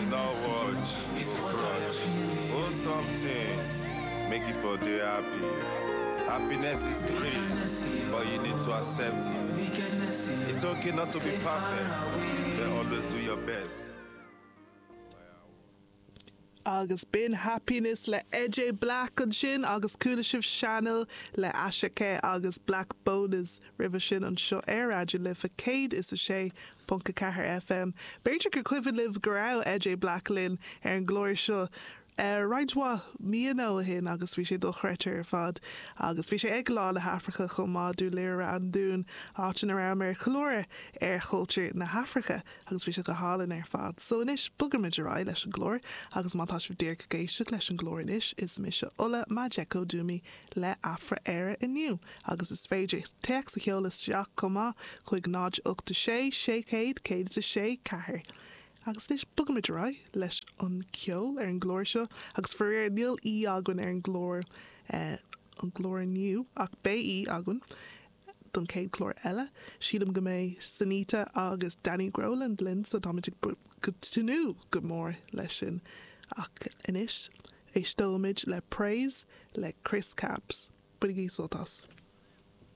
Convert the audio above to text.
No watch, no crutch. Oh something, make you for dey happy. Happiness is free, but you need to accept it. It's okay not to be perfect, but always do your best. Agus b'in Happiness le Eje Black ansin agus chuala sibh Channel le Asake agus Blaqbonez roimhe sin anseo ar Raidió na Life 106.4 FM. B'fhéidir gur cuimhin libh go raibh Eje Black linn ar an gclár seo roinnt mhaith míonna ó shin agus bhí sé dochreidte ar fad. Agus bhí sé ag Lá na hAfraice chomh maith, Dún Laoghaire an Dún, áit ina rabhamar ag ceiliúradh ar chultúr na hAfraice. Agus bhí sé go hálainn ar fad. So anois, bogaimid ar aghaidh leis an gclár, agus má tá sibh díreach ag éisteacht leis an gclár anois, is mise Ola Majekodunmi le Afra Éire inniu, agus is féidir téacs a sheoladh isteach chomh maith chuig 0 8 6 600 106 4. Agus anois, bogaimid ar aghaidh leis an gceol ar an gclár seo, agus faraor níl aoi againn ar an gclár, an gclár inniu, ach beidh aoi againn. don chéad chlár eile. Sílim go mbeidh Sonita agus Danny Groland linn so táimid ag tnúth go mór leis sin. Ach anois, éisteoimid le Praise le Chris Cabs. Bainigí sult as.